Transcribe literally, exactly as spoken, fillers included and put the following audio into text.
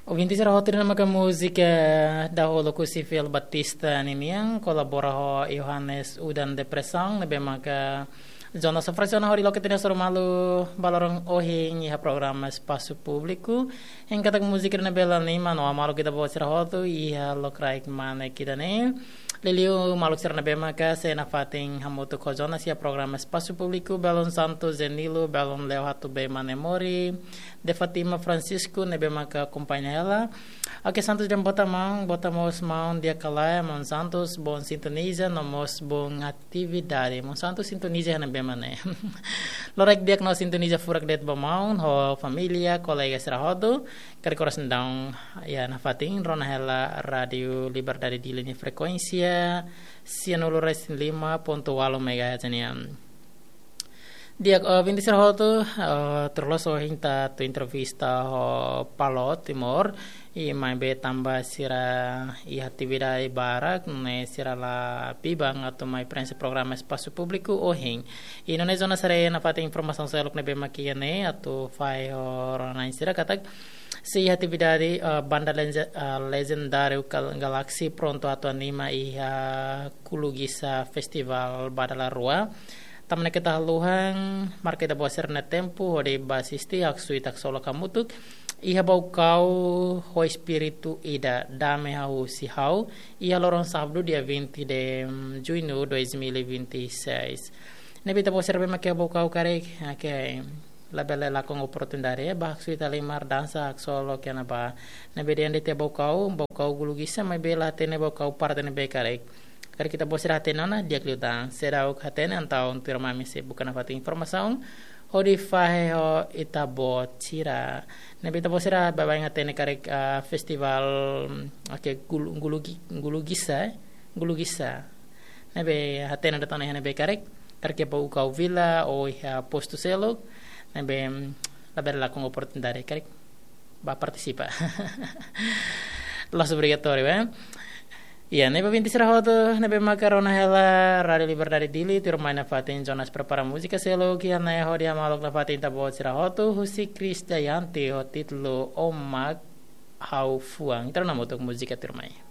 Ouvinte sira hotu, ne'e maka múzika dahuluk husi Fiel Batista ninian, kolabora ho Johannes Udan Depressão, ne'ebé maka Jonas Sofrasiona hodi loke tiha ona sira malu ba loron ohin iha programa Espasu Públiku. Hein katak múzika ne'ebé la anima no maluk ita-boot sira hotu iha lokraik mane ida-ne'e. Liuliu maluk sira ne'ebé maka sei nafatin hamutuk ho Jonas iha programa Espasu Públiku, belun Santos Zenilo, belun Leo Hatu Bey Manemori, De Fatima Francisco ne'ebé maka akompaña hela. Oke, Santos dehan boa tarde maun, boa tarde mós maun, di'ak ka lae maun Santos, bom sintoniza, no mós bom atividade. Maun Santos sintoniza iha ne'ebé mak ne'e? Lokraik di'ak no sintoniza furak de'it ba maun ho família, kolega sira hotu. Karik oras ne'e daudaun iha nafatin rona hela Rádio Liberdade Dili nia frekuénsia sianulu resin lima pontu ualu megahertz nian. Di'ak, eh, ouvinte sira hotu, eh, tuir loloos ohin ita atu entrevista ho Paló Timor, i maibé tanba sira iha atividade barak, ne'e sira la biban atu mai preenxe programa Espasu Públiku ohin. I nune'e Jonas haree nafatin informasaun seluk ne'ebé mak iha ne'e atu fahe ho rona-na'in sira katak sei iha atividade, eh, banda lenje-, eh, lejendáriu Gal-, Galaxy prontu atu anima iha Gulugisa Festival ba dala rua. Tanba ne'e keta haluha, marka ita-boot sira-nia tempu hodi bá asisti, haksoit haksolok hamutuk iha Baucau ho espíritu ida, Dame Hahú Husi Ha'u, iha loron sábadu dia vinte de junho dois mil e vinte e seis. Ne'ebé ita-boot sira ne'ebé mak iha Baucau karik, oke, labele lakon oportunidade, bá haksoit halimar, dansa, haksolok iha ne'ebá. Ne'ebé dehan de'it iha Baucau, Baucau Gulugisa, maibé la hatene Baucau parte ne'ebé karik. Karik ita-boot sira hatene ona, di'ak liután. Seidauk hatene, entaun tuirmai imi sei buka nafatin informasaun hodi fahe ho ita-boot sira. Ne'ebé ita-boot sira baibain hatene karik, ah, festival, oke, Gulu-, Gulugi-, Gulugisa, eh? Gulugisa. Ne'ebé hatene de'it ona iha ne'ebé karik, karik iha Baucau Vila ou iha postu seluk, ne'ebé, mm, labele lakon oportunidade karik bá partisipa. La'ós obrigatóriu, eh? Iha ne'ebé ouvinte sira hotu, ne'ebé maka rona hela Rádio Liberdade Dili, tuirmai nafatin Jonas prepara múzika seluk iha ne'e hodi hamaluk nafatin ita-boot sira hotu, husi Krisdayanti ho títulu O Mak Ha'u Fuan. Ita rona hamutuk múzika tuirmai.